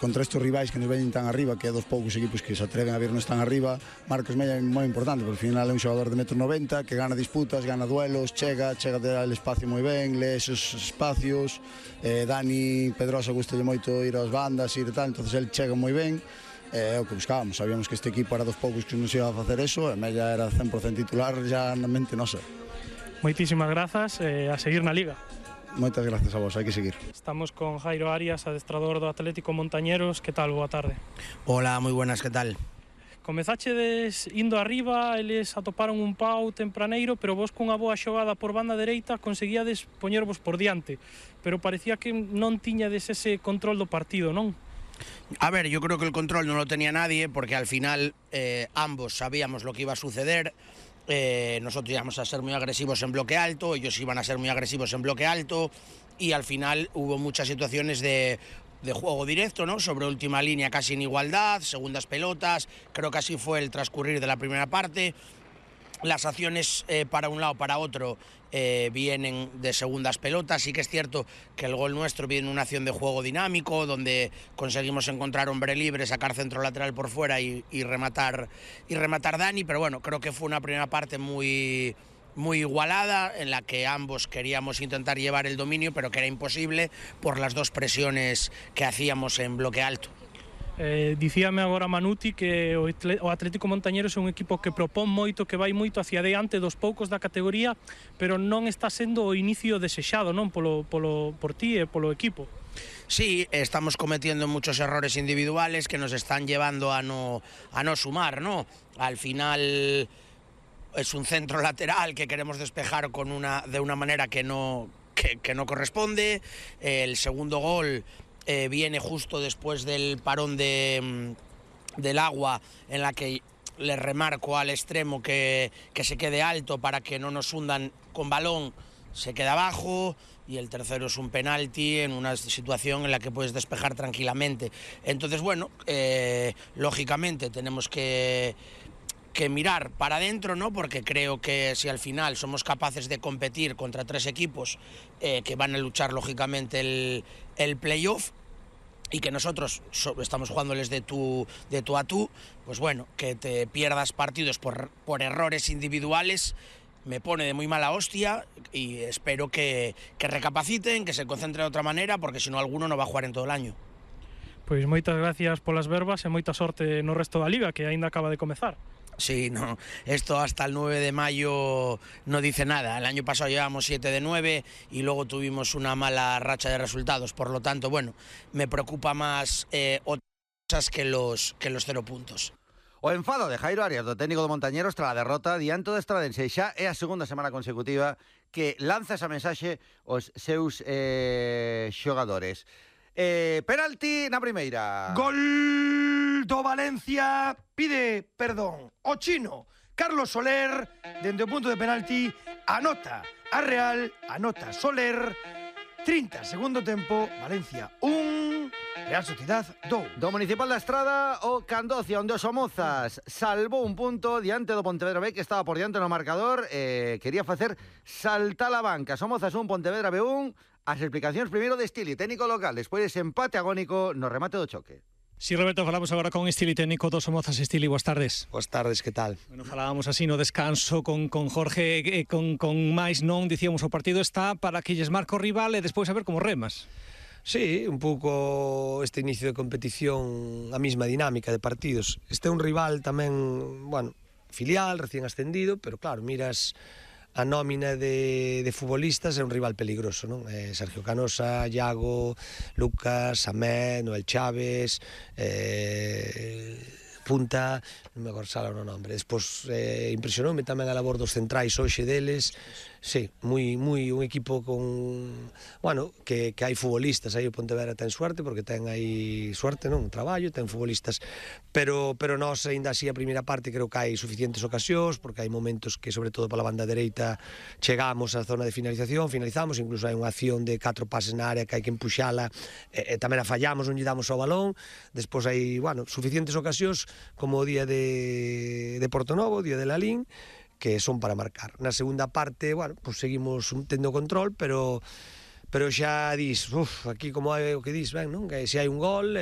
Contra estes rivais que nos veñen tan arriba, que é dos poucos equipos que se atreven a vernos tan arriba, Marcos Mella é moi importante, porque ao final é un xogador de 1,90 m, que gana disputas, gana duelos, chega al espacio moi ben, lee esos espacios. Dani Pedrosa gustalle moito ir ás bandas, ir e tal, entonces el chega moi ben. É o que buscábamos, sabíamos que este equipo era dos poucos que nos iba a facer eso, e Mella era 100% titular já na mente nosa. Moitísimas grazas, a seguir na Liga. Moitas gracias a vos, hai que seguir. Estamos con Jairo Arias, adestrador do Atlético Montañeros. Que tal? Boa tarde. Hola, moi buenas, que tal? Comezachedes indo arriba, eles atoparon un pau tempraneiro, pero vos cunha boa xogada por banda dereita conseguíades poñervos por diante, pero parecía que non tiñades ese control do partido, non? A ver, yo creo que el control no lo tenía nadie, porque al final ambos sabíamos lo que iba a suceder. Nosotros íbamos a ser muy agresivos en bloque alto, ellos iban a ser muy agresivos en bloque alto, y al final hubo muchas situaciones de juego directo, ¿no? Sobre última línea casi en igualdad, segundas pelotas, creo que así fue el transcurrir de la primera parte. Las acciones para un lado, para otro, vienen de segundas pelotas. Sí que es cierto que el gol nuestro viene de una acción de juego dinámico, donde conseguimos encontrar hombre libre, sacar centro lateral por fuera y rematar Dani, pero bueno, creo que fue una primera parte muy igualada, en la que ambos queríamos intentar llevar el dominio, pero que era imposible por las dos presiones que hacíamos en bloque alto. Dicíame agora Manuti que o Atlético Montañeros é un equipo que propón moito, que vai moito hacia adiante dos poucos da categoría, pero non está sendo o inicio desexado, non, por ti e polo equipo. Sí, estamos cometiendo muchos errores individuales que nos están llevando a no sumar, ¿no? Al final es un centro lateral que queremos despejar de una manera que no corresponde. El segundo gol viene justo después del parón del agua, en la que le remarco al extremo que se quede alto para que no nos hundan con balón, se queda abajo, y el tercero es un penalti en una situación en la que puedes despejar tranquilamente. Entonces, bueno, lógicamente tenemos que mirar para adentro, ¿no? Porque creo que si al final somos capaces de competir contra tres equipos que van a luchar lógicamente el playoff, y que nosotros estamos jugándoles de tú a tú, pues bueno, que te pierdas partidos por errores individuales me pone de muy mala hostia, y espero que recapaciten, que se concentren de otra manera, porque si no alguno no va a jugar en todo el año. Pois moitas gracias polas verbas e moita sorte no resto da Liga, que aínda acaba de comezar. Sí, no, esto hasta el 9 de mayo no dice nada. El año pasado llevamos 7 de 9 y luego tuvimos una mala racha de resultados. Por lo tanto, bueno, me preocupa más otras cosas que los 0 puntos. O enfado de Jairo Arias, do técnico do Montañeros, tras a derrota diante do Estradense. Xa é a segunda semana consecutiva que lanza esa mensaxe aos seus xogadores. Penalti na primeira. Gol do Valencia, pide perdón o chino Carlos Soler, dende o punto de penalti, anota a Real, anota Soler. 30 segundo tempo, Valencia 1, Real Sociedad 2. Do Municipal da Estrada, o Candocia, onde os Somozas salvou un punto diante do Pontevedra B, que estaba por diante no marcador, quería facer saltar a banca. Somozas 1, Pontevedra B 1. As explicacións primeiro de Stili, técnico local, despois ese empate agónico no remate do choque. Sí, Roberto, falamos agora con Stili, técnico do Somozas. Stili, boas tardes. Boas tardes, que tal? Bueno, falábamos así no descanso con Jorge, con máis non, dicíamos, o partido está para que lles marque o rival e despois a ver como remas. Sí, un pouco este inicio de competición, a mesma dinámica de partidos. Este é un rival tamén, bueno, filial, recién ascendido, pero claro, miras a nómina de futbolistas, é un rival peligroso, non? Sergio Canosa, Iago, Lucas, Amé, Noel Chaves, Punta, non me acordo o nombre. Despois impresionoume tamén a labor dos centrais hoxe deles. Sí, un equipo con, bueno, que hai futbolistas, aí o Pontevedra ten suerte, porque ten aí suerte, non? Traballo, ten futbolistas, pero nós aínda así a primeira parte creo que hai suficientes ocasións, porque hai momentos que sobre todo pola banda dereita chegamos á zona de finalización, finalizamos, incluso hai unha acción de 4 pases na área que hai que empuxala, e tamén a fallamos, non lle damos ao balón. Despois hai, bueno, suficientes ocasións como o día de Portonovo, o día de Lalín, que son para marcar. Na segunda parte, bueno, pues seguimos tendo control, pero xa dis, aquí como é o que dis, ben, non? Que se hai un gol,